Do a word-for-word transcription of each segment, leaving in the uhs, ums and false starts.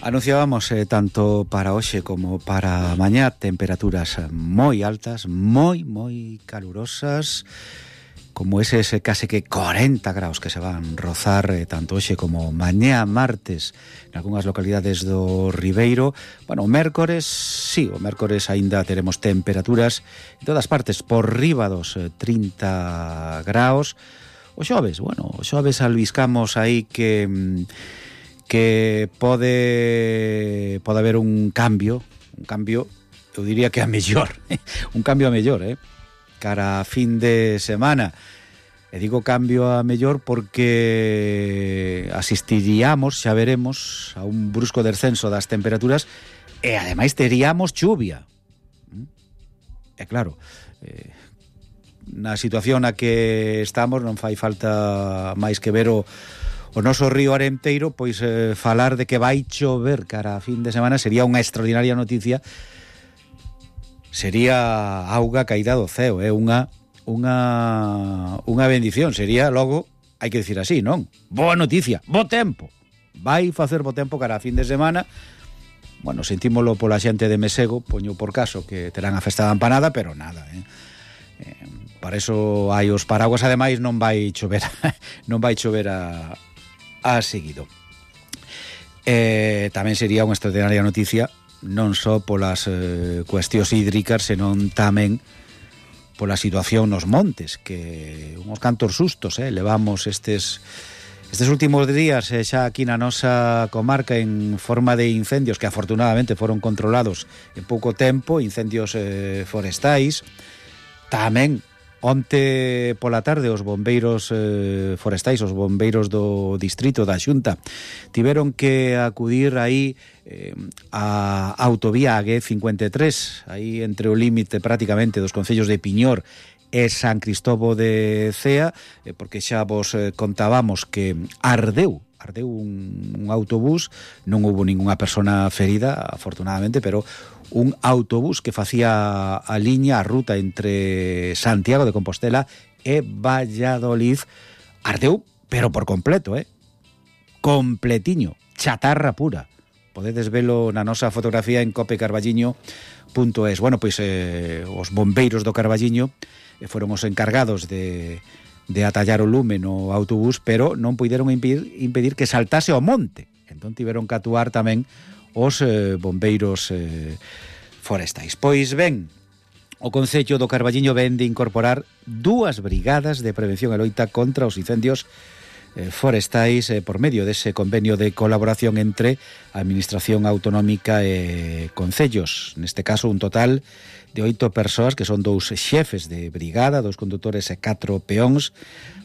Anunciábamos eh, tanto para hoxe como para mañá temperaturas moi altas, moi, moi calurosas, como ese, ese case que cuarenta graus que se van rozar eh, tanto hoxe como mañá martes en algunhas localidades do Ribeiro. Bueno, o mércores, sí, o mércores aínda teremos temperaturas en todas partes por riba dos eh, trinta graus. O xoves, bueno, o xoves albiscamos aí que... que pode pode haber un cambio, un cambio, eu diría que a mellor, un cambio a mellor, eh? cara a fin de semana. E digo cambio a mellor porque asistiríamos, xa veremos, a un brusco descenso das temperaturas e ademais teríamos chuvia. E claro, eh, na situación na que estamos non fai falta máis que ver o O noso río Arenteiro, pois eh, falar de que vai chover cara a fin de semana sería unha extraordinaria noticia. Sería auga caída do ceo, é eh? unha unha unha bendición, sería logo, hai que dicir así, non? Boa noticia, bo tempo. Vai facer bo tempo cara a fin de semana. Bueno, sentímolo pola xente de Mesego, poño por caso que terán a festa da empanada, pero nada, eh. eh para eso hai os paraguas, ademais non vai chover, non vai chover a a seguido. Eh, tamén sería unha extraordinaria noticia non só polas eh, cuestións hídricas, senón tamén pola situación nos montes, que uns cantos sustos eh, levamos estes estes últimos días eh, xa aquí na nosa comarca en forma de incendios que afortunadamente foron controlados en pouco tempo, incendios eh, forestais. Tamén onte pola tarde os bombeiros eh, forestais, os bombeiros do distrito da Xunta tiveron que acudir aí eh, a autovía G cincuenta e tres, aí entre o límite prácticamente dos concellos de Piñor e San Cristobo de Cea, eh, porque xa vos eh, contábamos que ardeu ardeu un, un autobús, non houbo ningunha persona ferida, afortunadamente, pero un autobús que facía a liña, a ruta entre Santiago de Compostela e Valladolid, ardeu, pero por completo, eh? Completiño, chatarra pura. Podedes velo na nosa fotografía en cope carballiño punto es. Bueno, pois eh, os bombeiros do Carballiño eh, foron os encargados de... de atallar o lume no autobús, pero non puideron impedir, impedir que saltase ao monte. Entón tiveron que actuar tamén os eh, bombeiros eh, forestais. Pois ben, o Concello do Carballiño ven de incorporar dúas brigadas de prevención e loita contra os incendios eh, forestais eh, por medio dese convenio de colaboración entre a Administración Autonómica e Concellos. Neste caso, un total de oito persoas, que son dous xefes de brigada, dous condutores e catro peóns,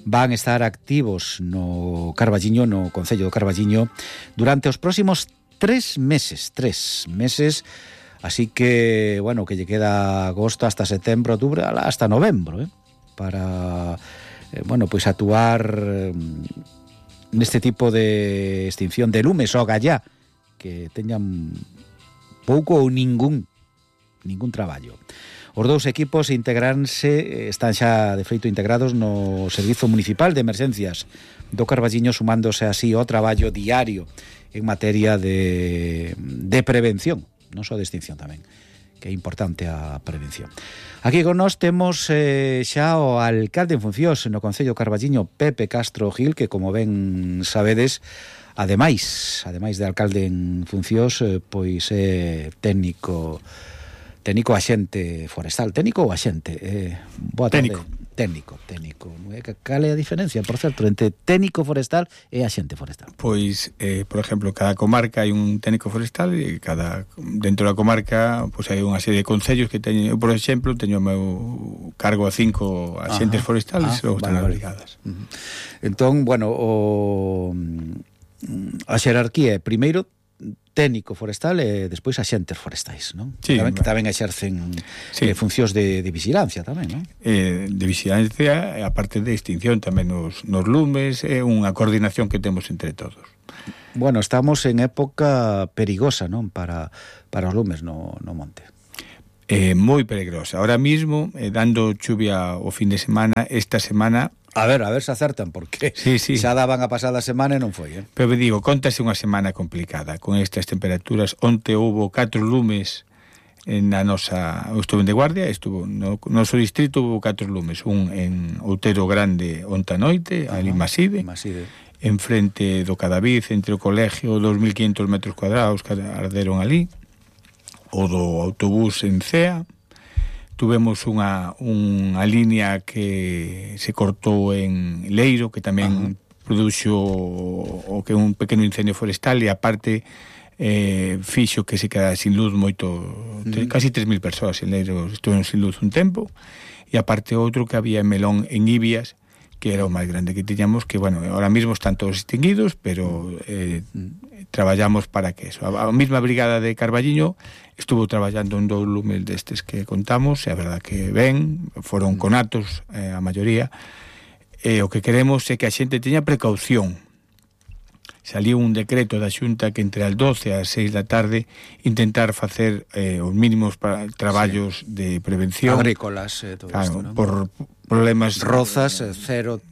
van estar activos no Carballiño, no Concello do Carballiño, durante os próximos tres meses, tres meses, así que, bueno, que lle queda agosto hasta setembro, outubro, hasta novembro, eh, para, eh, bueno, pois actuar eh, neste tipo de extinción de lumes ou gallá, que teñan pouco ou ningún ningún traballo. Os dous equipos integranse, están xa de feito integrados no Servizo Municipal de Emerxencias do Carballiño, sumándose así ao traballo diario en materia de, de prevención, non só de extinción tamén, que é importante a prevención. Aquí con nós temos eh, xa o alcalde en funcións no Concello Carballiño, Pepe Castro Gil, que como ben sabedes, ademais, ademais de alcalde en funcións, eh, pois é técnico técnico axente forestal. Técnico ou axente? Eh, boa tarde. Técnico. Técnico, técnico. Cal é a diferencia, por certo, entre técnico forestal e axente forestal? Pois, eh, por exemplo, cada comarca hai un técnico forestal e cada dentro da comarca pois hai unha serie de concellos que teñen. Eu, por exemplo, teño o meu cargo a cinco axentes Ajá. forestales e logo están as brigadas. Uh-huh. Entón, bueno, o a xerarquía é primeiro técnico forestal e despois axentes forestais, non? Sí, tamén, que tamén exercen sí. eh, funcións de, de vigilancia tamén, non? Eh, de vigilancia, a parte de extinción tamén nos, nos lumes, é unha coordinación que temos entre todos. Bueno, estamos en época perigosa, non? Para, para os lumes no, no monte. Eh, moi peligrosa. Ahora mismo, eh, dando chuvia o fin de semana, esta semana A ver, a ver se acertan, porque sí, sí. xa daban a pasada semana e non foi, eh? Pero digo, contase unha semana complicada con estas temperaturas. Onte houve catro lumes na nosa... Eu estuve de guardia, estuvo no noso distrito houve catro lumes, un en Outero Grande onta noite, ali en Maside, Maside, en frente do Cadavid, entre o colegio, dos mil quinhentos metros cuadrados que arderon ali, o do autobús en Cea. Tuvemos unha, unha línea que se cortou en Leiro, que tamén uh-huh. produxo o que un pequeno incendio forestal, e aparte eh, fixo que se quedara sin luz moito, uh-huh. casi tres mil persoas en Leiro estuveron sin luz un tempo, e aparte outro que había en Melón, en Ibias, que era o máis grande que tiñamos, que, bueno, ahora mismo están todos extinguidos, pero eh, traballamos para que eso. A, a mesma brigada de Carballiño estuvo traballando en dous lumes destes que contamos, e a verdad que ben, foron conatos, eh, a maioría, e o que queremos é que a xente teña precaución. Saliu un decreto da Xunta que entre as doce e as seis da tarde intentar facer eh, os mínimos para traballos sí. de prevención agrícolas, eh, todo claro, isto, ¿no? Por problemas rozas, eh, cero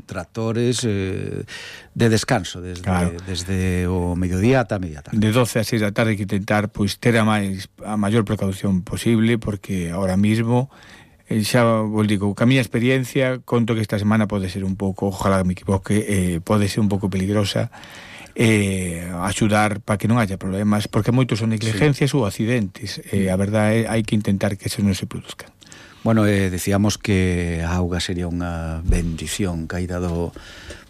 tractores eh, de descanso desde, claro. desde o mediodía ata a media tarde. De doce a seis da tarde que intentar pois ter a máis a maior precaución posible, porque ahora mismo eh, xa vos digo, ca miña experiencia conto que esta semana pode ser un pouco, ojalá me equivoque, eh, pode ser un pouco peligrosa, eh, axudar para que non haya problemas, porque moitos son negligencias sí. ou accidentes, eh, a verdade é hai que intentar que eso non se produzca. Bueno, eh, decíamos que a auga sería unha bendición caída do,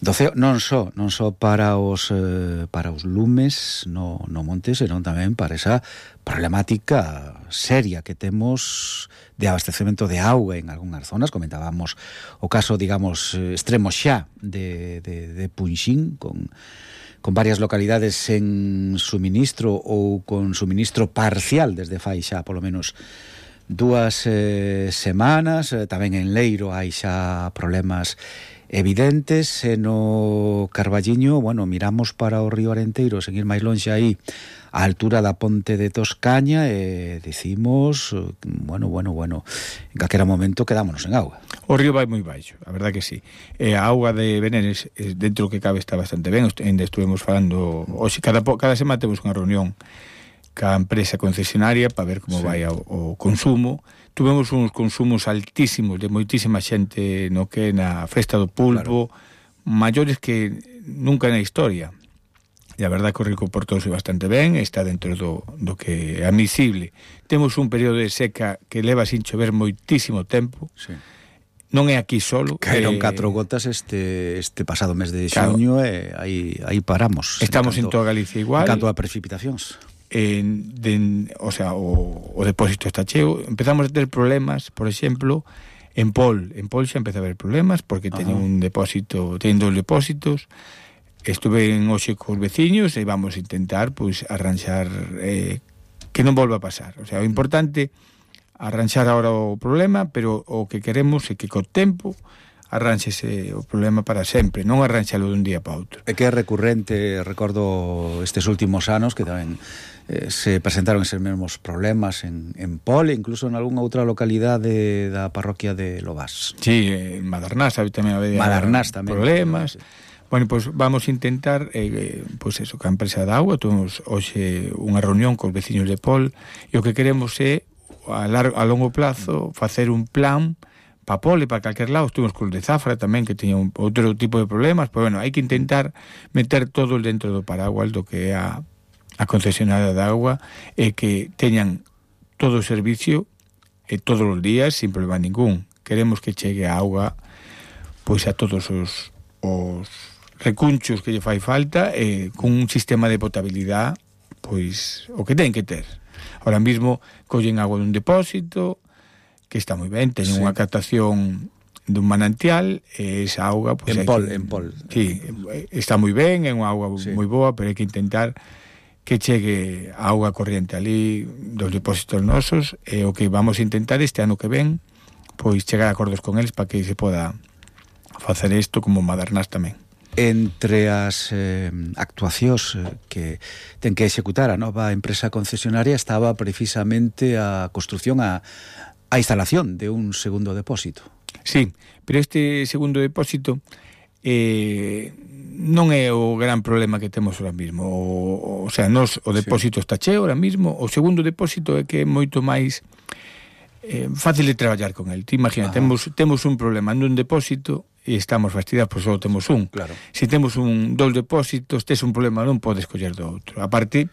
do ceo, non só non só para os eh, para os lumes no, no monte, senón tamén para esa problemática seria que temos de abastecemento de auga en algunhas zonas. Comentábamos o caso, digamos, extremo xa de, de, de Punxín, con con varias localidades sen suministro ou con suministro parcial desde fai xa polo menos dúas eh, semanas. eh, tamén en Leiro hai xa problemas evidentes, e no Carballiño, bueno, miramos para o río Arenteiro, sen ir máis lonxe aí, a altura da ponte de Toscaña, e dicimos, bueno, bueno, bueno, en calquera momento quedámonos en auga. O río vai moi baixo, a verdad que sí. E a auga de Beneres, dentro que cabe, está bastante ben. Ainda estuvemos falando, hoxe, cada, cada semana temos unha reunión ca empresa concesionaria para ver como sí. vai o, o consumo. Tuvemos uns consumos altísimos de moitísima xente no que na Festa do Pulpo, claro. maiores que nunca na historia. E a verdade que o río comportouse bastante ben, está dentro do, do que é admisible. Temos un período de seca que leva sin chover moitísimo tempo. Sí. Non é aquí solo. Caeron eh, catro gotas este este pasado mes de xuño, claro. e aí, aí paramos. Estamos en, canto, en toda Galicia igual. En canto a precipitacións. En, de, o sea, o, o depósito está cheo. Empezamos a ter problemas, por exemplo, en Pol. En Pol xa empeza a haber problemas porque teñen un depósito, teñen dos depósitos. Estuve en hoxe cos veciños e vamos a intentar pois arranxar eh, que non volva a pasar. O sea, o importante arranxar agora o problema, pero o que queremos é que co tempo arranxese o problema para sempre, non arranxalo dun día para outro. É que é recurrente, recordo estes últimos anos que tamén eh, se presentaron eses mesmos problemas en, en Pol, incluso en algunha outra localidade da parroquia de Lobás. Sí, en Madernás tamén había Madernás tamén problemas. Bueno, pois pues vamos a intentar, eh, pois pues eso, que a empresa de auga, tuvemos hoxe unha reunión cos veciños de Pol, e o que queremos é, a, largo, a longo plazo, facer un plan para Pol e para calquer lado. Estuvimos con de Zafra tamén, que teña un, outro tipo de problemas, pero bueno, hai que intentar meter todo dentro do paraguas do que é a, a concesionaria de agua, e que teñan todo o servicio e todos os días sin problema ningún. Queremos que chegue a auga pois a todos os, os recunchos que lle fai falta, e con un sistema de potabilidade pois o que ten que ter. Ahora mismo collen agua dun depósito que está moi ben, teñen sí. unha captación dun manantial, e esa auga pues, en Pol, que, en Pol. Sí, está moi ben, é unha auga sí. moi boa, pero hai que intentar que chegue a auga corriente ali dos depósitos nosos, e o que vamos a intentar este ano que ven, pois chegar a acordos con eles para que se poda facer isto como Madernás tamén. Entre as eh, actuacións que ten que executar a nova empresa concesionaria estaba precisamente a construción a a instalación de un segundo depósito. Sí, pero este segundo depósito eh, non é o gran problema que temos ahora mismo. O, o sea, nos, o depósito sí. está cheo ahora mismo. O segundo depósito é que é moito máis eh, fácil de traballar con el. Te imagina, temos, temos un problema nun depósito e estamos fastidiados, pois só temos un. Claro. Se temos un dous depósitos, tes un problema, non podes coller do outro. A parte,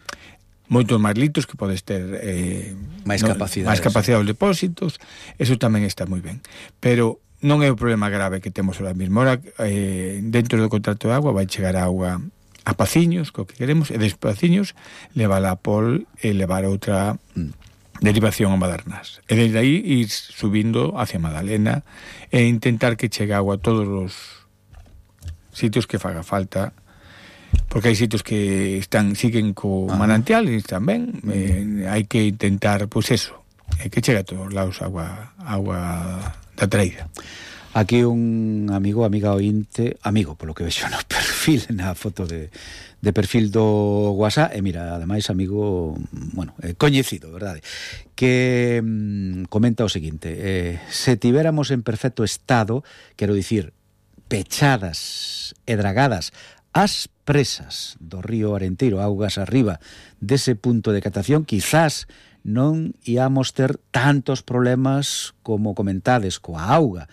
moitos máis litros que podes ter eh, máis no, capacidade máis capacidade dos depósitos, eso tamén está moi ben, pero non é o problema grave que temos ahora mesmo. Ahora, eh, dentro do contrato de agua vai chegar agua a Paciños, co que queremos, e des Paciños levar a Pol e levar outra mm. derivación a Madernás, e desde aí ir subindo hacia Madalena e intentar que chegue agua a todos os sitios que faga falta, porque hai sitios que están siguen co ah. manantiales tamén, eh, hai que intentar, pois pues eso, é que chega a todos lados agua agua da traída. Aquí un amigo, amiga ointe, amigo, polo que vexo no perfil, na foto de, de perfil do WhatsApp, e mira, ademais amigo, bueno, eh, coñecido, verdade, que mm, comenta o seguinte, eh, se tivéramos en perfecto estado, quero dicir, pechadas e dragadas as presas do río Arenteiro, augas arriba dese punto de catación, quizás non íamos ter tantos problemas como comentades coa auga.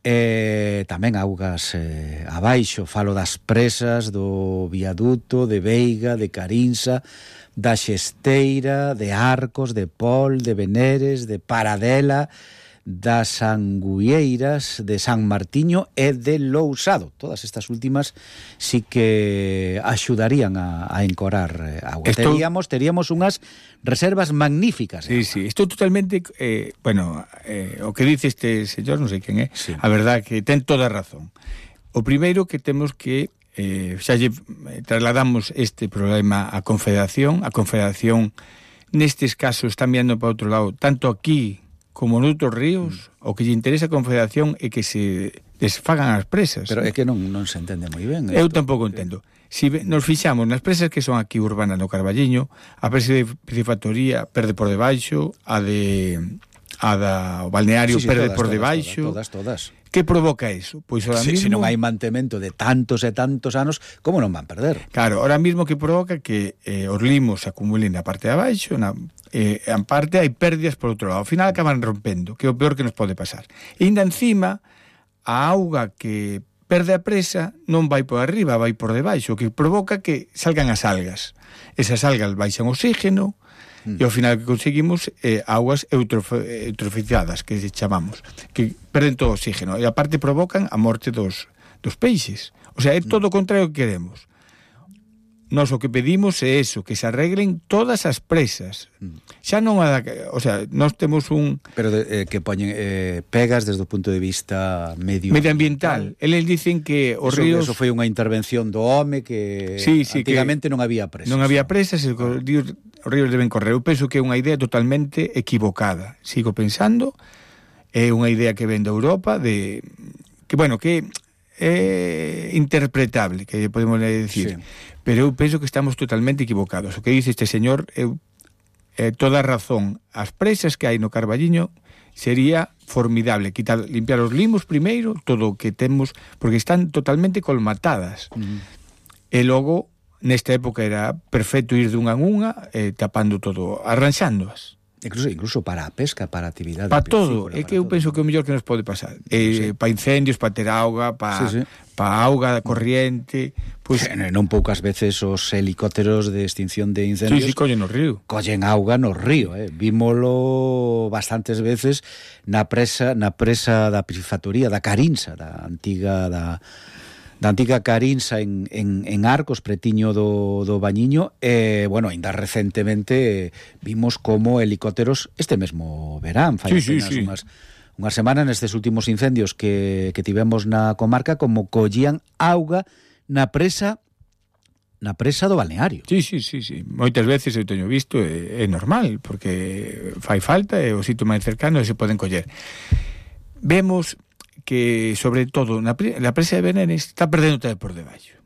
E tamén augas eh, abaixo, falo das presas do viaduto, de Veiga, de Carinsa, da Xesteira, de Arcos, de Pol, de Veneres, de Paradela, das Anguieiras, de San Martiño e de Lousado. Todas estas últimas sí que axudarían a, a encorar eh, agua. Estou... Teríamos, teríamos unhas reservas magníficas. Sí, sí, estou totalmente... Eh, bueno, eh, o que dice este señor, non sei quen é, sí. A verdad que ten toda a razón. O primeiro que temos que... Eh, xa lle trasladamos este problema á Confederación. A Confederación, nestes casos, está mirando para outro lado, tanto aquí como noutros ríos, mm. o que lle interesa a Confederación é que se desfagan as presas. Pero é que non, non se entende moi ben. Eu tampouco entendo. Si nos fixamos nas presas que son aquí urbanas no Carballiño, a presa de Piscifactoría perde por debaixo, a de a da o balneario sí, sí, perde todas, por debaixo. Todas, todas, todas. Que provoca eso? Pois ahora sí, mismo... Se non hai mantemento de tantos e tantos anos, como non van perder? Claro, ahora mismo que provoca que eh, os limos se acumulen na parte de abaixo, na, eh, en parte hai pérdidas por outro lado. Ao final acaban rompendo, que é o peor que nos pode pasar. E ainda encima, a auga que perde a presa non vai por arriba, vai por debaixo, o que provoca que salgan as algas. Esas algas baixan oxígeno, Mm. e ao final que conseguimos eh, augas eutrof eutrofizadas, que chamamos, que perden todo o oxígeno e aparte provocan a morte dos, dos peixes. O sea, é todo o contrario que queremos. Nós o que pedimos é eso, que se arreglen todas as presas. Xa non a, o sea, nós temos un... Pero de, eh, que poñen eh, pegas desde o punto de vista medio medioambiental. Eles dicen que os eso, ríos... Eso foi unha intervención do home que sí, sí, antigamente que non había presas. Non había presas, e os ríos, os ríos deben correr. Eu penso que é unha idea totalmente equivocada. Sigo pensando, é unha idea que ven da Europa, de que, bueno, que é interpretable, que podemos decir. Sí. Pero eu penso que estamos totalmente equivocados. O que dice este señor, eu, eh, toda a razón. As presas que hai no Carballiño sería formidable quitar, limpiar os limos primeiro, todo o que temos, porque están totalmente colmatadas. Uh-huh. E logo, nesta época era perfecto ir dunha en unha, eh, tapando todo, arranxándoas. Incluso, incluso para a pesca, para a actividade. Para todo, é que eu todo. penso que é o mellor que nos pode pasar. Eh, sí. Para incendios, para ter auga, para sí, sí. pa auga corriente. Pues... Eh, non poucas veces os helicópteros de extinción de incendios sí, sí, collen no río. Collen auga no río, eh. Vímolo bastantes veces na presa, na presa da Piscifactoría, da Carinsa, da antiga da da antiga Carinsa en, en, en Arcos, pretiño do, do Bañiño, e, bueno, ainda recentemente vimos como helicópteros este mesmo verán, fai sí, sí, sí. unhas, unhas semanas nestes últimos incendios que, que tivemos na comarca, como collían auga na presa na presa do balneario. Sí, sí, sí, sí. Moitas veces eu teño visto, é, é normal, porque fai falta, é o sitio máis cercano e se poden coller. Vemos que, sobre todo, na, na presa de Veneres está perdendo todo por debaixo.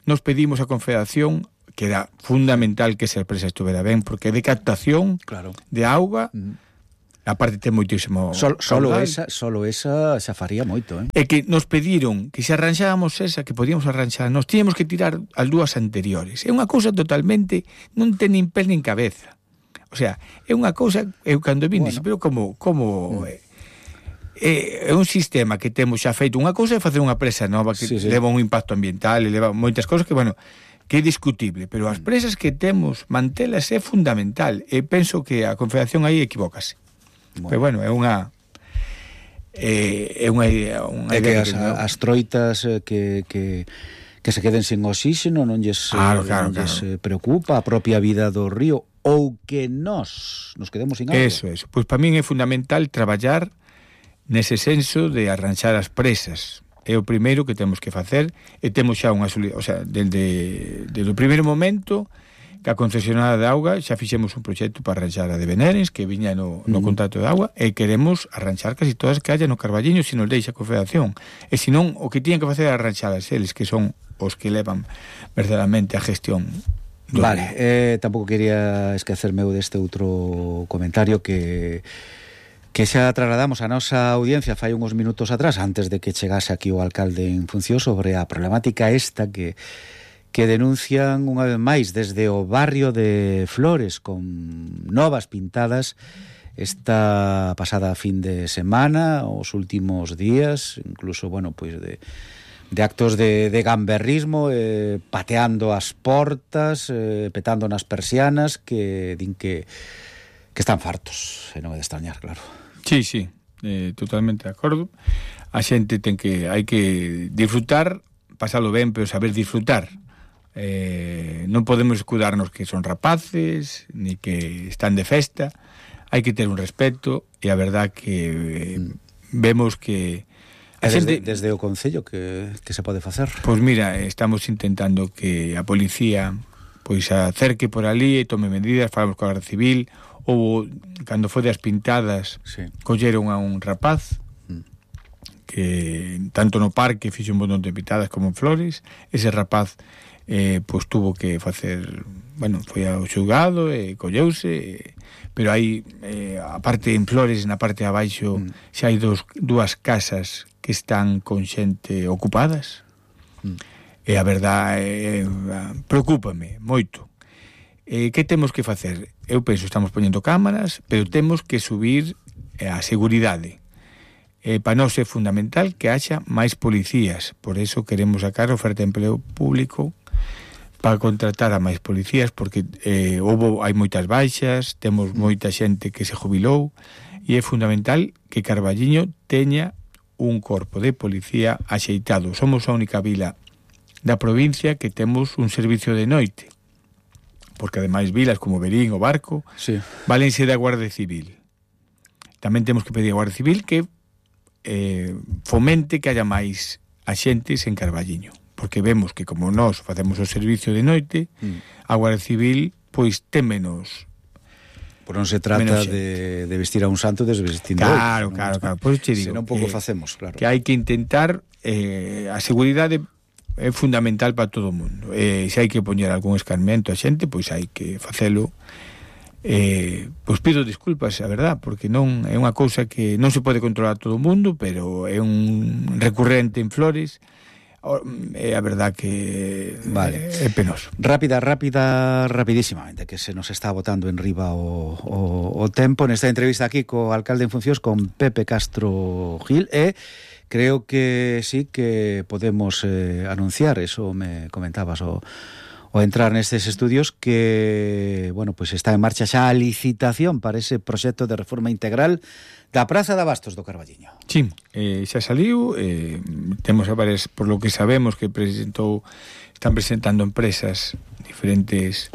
Nos pedimos a Confederación que era fundamental que esa presa estuvera ben, porque de captación claro. de auga, mm. aparte ten moitísimo Sol, solo esa, solo esa xa faría moito, eh? É que nos pediron que se arranxábamos esa, que podíamos arranxar, nos tíamos que tirar as dúas anteriores. É unha cousa totalmente, non ten nin pés nin cabeza. O sea, é unha cousa, eu cando vin, bueno. Dixo, pero como, como mm. é, é un sistema que temos xa feito unha cousa é facer unha presa nova que sí, sí. leva un impacto ambiental e leva moitas cousas que, bueno, que é discutible, pero as presas que temos mantelas é fundamental e penso que a Confederación aí equivócase. Bueno. Pero bueno, é unha é, é unha idea, unha é idea que, que as, as troitas que, que, que se queden sin oxígeno non lles, claro, claro, non lles claro. preocupa a propia vida do río ou que nós nos quedemos sin agua. Eso, eso. Pois para min é fundamental traballar nese senso de arranxar as presas. É o primeiro que temos que facer e temos xa unha, o sea, desde, desde o primeiro momento que a concesionada de auga xa fixemos un proxecto para arranxar a de Benerens, que viña no, no uh-huh. contrato de agua, e queremos arranxar casi todas que haya no Carballiño se nos deixa a Confederación. E senón, o que tiñan que facer é arranxalas eles, que son os que levan verdadeiramente a gestión. Vale, eh, tampouco quería esquecerme deste outro comentario que que xa trasladamos a nosa audiencia fai uns minutos atrás, antes de que chegase aquí o alcalde en función, sobre a problemática esta que que denuncian unha vez máis desde o barrio de Flores, con novas pintadas esta pasada fin de semana, os últimos días, incluso, bueno, pois de de actos de, de gamberrismo, eh, pateando as portas, eh, petando nas persianas, que din que que están fartos, e non é de extrañar, claro. Sí, sí, eh, totalmente de acordo. A xente ten que, hai que disfrutar, pasalo ben, pero saber disfrutar. Eh, non podemos escudarnos que son rapaces, ni que están de festa. Hai que ter un respeto, e a verdad que eh, vemos que a desde, xente, desde o Concello que, que se pode facer? Pois mira, estamos intentando que a policía pois acerque por ali e tome medidas, falamos con a Garda Civil. Ou cando foi das pintadas, sí. Colleron a un rapaz mm. que tanto no parque fixo un montón de pintadas como en Flores. Ese rapaz eh, pois tuvo que facer, bueno, foi ao xulgado e colleuse, pero hai eh, a parte en Flores, na parte de abaixo mm. xa hai dos, dúas casas que están con xente ocupadas mm. e a verdade eh, preocúpame moito. Eh, que temos que facer? Eu penso, estamos poñendo cámaras, pero temos que subir eh, a seguridade. Eh, para nós é fundamental que haxa máis policías, por eso queremos sacar oferta de empleo público para contratar a máis policías, porque eh, houve, hai moitas baixas, temos moita xente que se jubilou, e é fundamental que Carballiño teña un corpo de policía axeitado. Somos a única vila da provincia que temos un servicio de noite, porque ademais vilas como Berín o Barco sí. valense da Guardia Civil. Tamén temos que pedir a Guardia Civil que eh, fomente que haya máis axentes en Carballiño, porque vemos que como nós facemos o servicio de noite, mm. a Guardia Civil pois ten menos. Por non se trata de, de vestir a un santo desvestindo. Claro, outro, claro, ¿no? claro. Por iso te digo, senón pouco que, facemos, claro. Que hai que intentar eh, a seguridade é fundamental para todo o mundo. E se hai que poñer algún escarmento a xente, pois hai que facelo. Eh, pois pido disculpas, a verdad, porque non é unha cousa que non se pode controlar todo o mundo, pero é un recurrente en Flores. É a verdad que vale. É penoso. Rápida, rápida, rapidísimamente, que se nos está botando en riba o, o, o tempo nesta entrevista aquí co alcalde en funcións, con Pepe Castro Gil, e creo que sí que podemos eh, anunciar, eso me comentabas o, o entrar nestes estudios, que, bueno, pues está en marcha xa a licitación para ese proxecto de reforma integral da Praza de Abastos do Carballiño. Sí, eh, xa saliu, eh, temos a varias, por lo que sabemos que presentou, están presentando empresas diferentes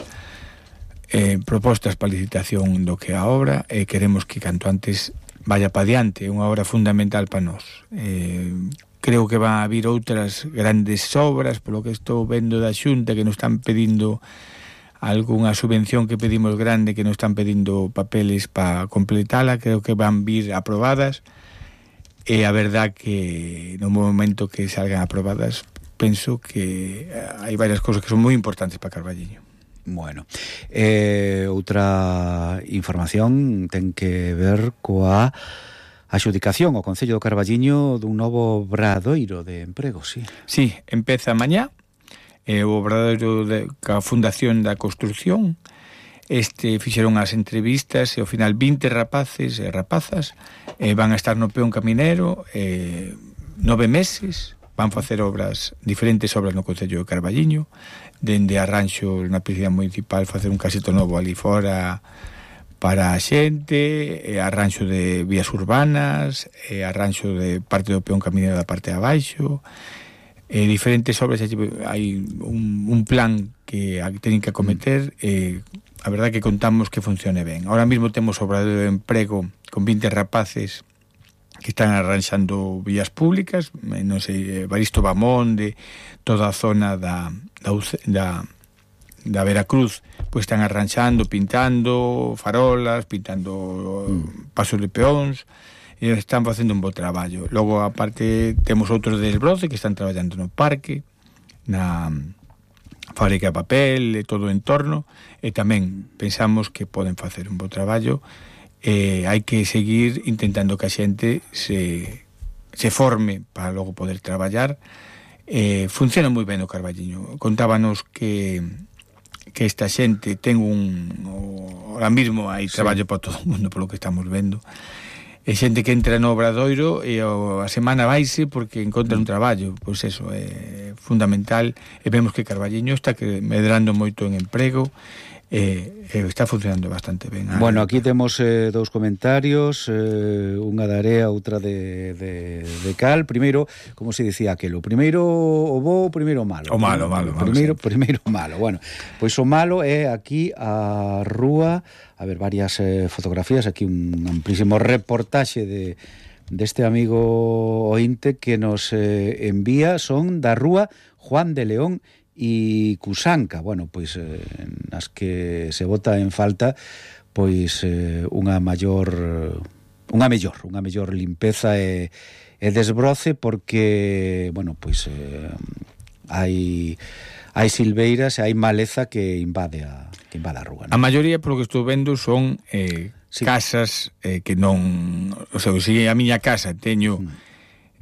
eh, propostas para licitación do que a obra, e eh, queremos que canto antes vaya pa diante, é unha obra fundamental para nós. Eh, creo que van a vir outras grandes obras, polo que estou vendo da Xunta, que nos están pedindo algunha subvención que pedimos grande, que nos están pedindo papeles para completala, creo que van vir aprobadas, e a verdad que no momento que salgan aprobadas, penso que hai varias cousas que son moi importantes para Carballiño. Bueno, eh, outra información ten que ver coa adxudicación ao Concello do Carballiño dun novo obradoiro de emprego, sí. Sí, empeza mañá, eh, o obradoiro de, ca Fundación da Construción. Este fixeron as entrevistas e ao final vinte rapaces e rapazas eh, van a estar no peón caminero eh, nove meses, van facer obras, diferentes obras no Concello do Carballiño, dende arranxo na piscina municipal, facer un caseto novo ali fora para a xente, e arranxo de vías urbanas, e arranxo de parte do peón caminero da parte de abaixo, e diferentes obras. Hai un, un plan que teñen que acometer, e a verdade que contamos que funcione ben. Ahora mesmo temos obradoiro de emprego con vinte rapaces que están arranxando vías públicas, non sei, Baristo Bamonde, toda a zona da, da, da, da Veracruz, pois están arranxando, pintando farolas, pintando mm. pasos de peóns, e están facendo un bo traballo. Logo, aparte, temos outros de Esbroce que están traballando no parque, na fábrica de papel, e todo o entorno, e tamén pensamos que poden facer un bo traballo. Eh, hai que seguir intentando que a xente se, se forme para logo poder traballar. Eh, funciona moi ben o Carballiño. Contábanos que que esta xente ten un... O, ahora mismo hai traballo sí. para todo o mundo, polo que estamos vendo. E xente que entra no obradoiro e o, a semana vaise porque encontra un traballo. Pois eso, é fundamental. E vemos que Carballiño está que medrando moito en emprego. Eh, eh, está funcionando bastante ben. Bueno, aquí temos eh, dous comentarios, eh, unha de Area, outra de, de, de Cal. Primeiro, como se dicía aquelo, primeiro o bo, primeiro o malo. O malo, malo, malo. Primeiro, primeiro o malo. Bueno, pois o malo é aquí a rúa, a ver, varias eh, fotografías, aquí un amplísimo reportaxe de deste amigo ointe que nos eh, envía, son da rúa Juan de León e Cusanca, bueno, pois eh, nas que se bota en falta pois eh, unha maior unha mellor, unha mellor limpeza e, e desbroce, porque, bueno, pois eh, hai hai silveiras e hai maleza que invade a que invade a rúa, ¿no? A maioría, polo que estou vendo, son eh, sí. casas eh, que non, o sea, se a miña casa teño mm.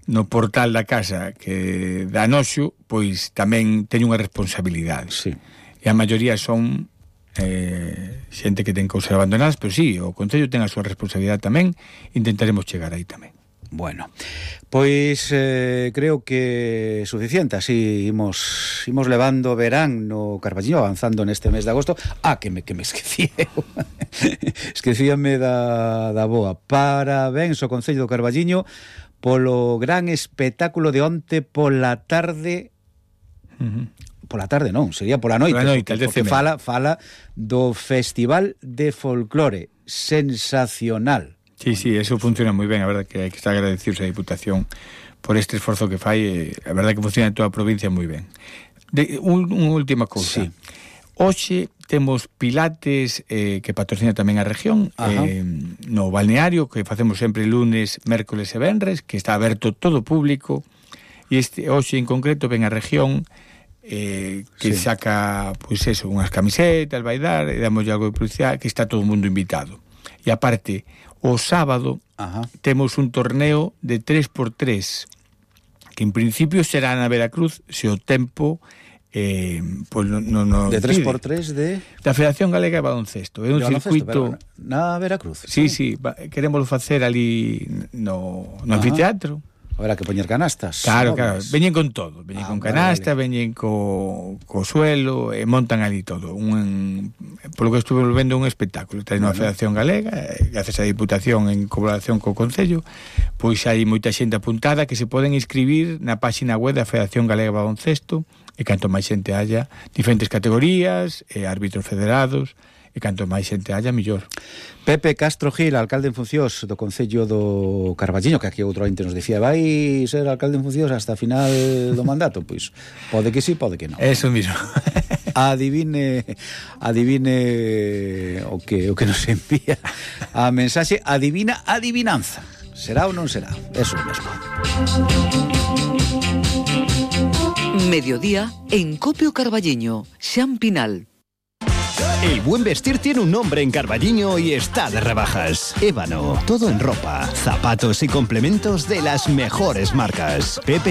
no portal da casa que dá noxo, pois tamén teño unha responsabilidade. Sí. E a maioría son eh, xente que ten cousas abandonadas, pero sí, o Concello ten a súa responsabilidade tamén, intentaremos chegar aí tamén. Bueno, pois eh, creo que é suficiente, así imos, imos levando verán no Carballiño, avanzando neste mes de agosto. Ah, que me, que me esquecía esquecíame da, da boa. Parabéns ao Concello do Carballiño polo gran espectáculo de onte pola tarde. Uh-huh. Pola tarde non, sería pola noite, pola noite, porque, porque fala, fala do Festival de Folclore, sensacional. Sí, sí, eso funciona moi ben, a verdade que hai que estar agradecidos a Diputación por este esforzo que fai, a verdade que funciona en toda a provincia moi ben. De, un, unha última cousa. Sí. Hoxe temos pilates eh, que patrocina tamén a región, eh, no balneario, que facemos sempre lunes, mércoles e venres, que está aberto todo público, e este hoxe en concreto ven a región eh, que sí. saca, pois eso, unhas camisetas, vai dar, e damos algo de publicidade, que está todo o mundo invitado. E aparte, o sábado Ajá. temos un torneo de tres por tres, que en principio será na Veracruz, se o tempo eh, pues no, no, no de tres por tres de da Federación Galega de Baloncesto. É un circuito na Veracruz. Sí, sí, queremos facer ali no, no anfiteatro. Habrá que poñer canastas. Claro, claro, veñen con todo, veñen ah, con canasta, vale. veñen co, co suelo, e montan ali todo. Un, polo que estuve vendo un espectáculo, está na vale. Federación Galega, gracias á Diputación en colaboración co Concello, pois hai moita xente apuntada que se poden inscribir na páxina web da Federación Galega de Baloncesto, e canto máis xente haya, diferentes categorías, e árbitros federados, e canto máis xente haya, millor. Pepe Castro Gil, alcalde en funcións do Concello do Carballiño, que aquí outro ente nos dicía, vai ser alcalde en funcións hasta a final do mandato, pois pode que sí, pode que non. Eso mismo. Adivine, adivine o que o que nos envía a mensaxe, adivina adivinanza. Será ou non será? Eso mesmo. Mediodía en Copio Carballiño, Xan Pinal. El buen vestir tiene un nombre en Carballiño y está de rebajas. Ébano, todo en ropa, zapatos y complementos de las mejores marcas. Pepe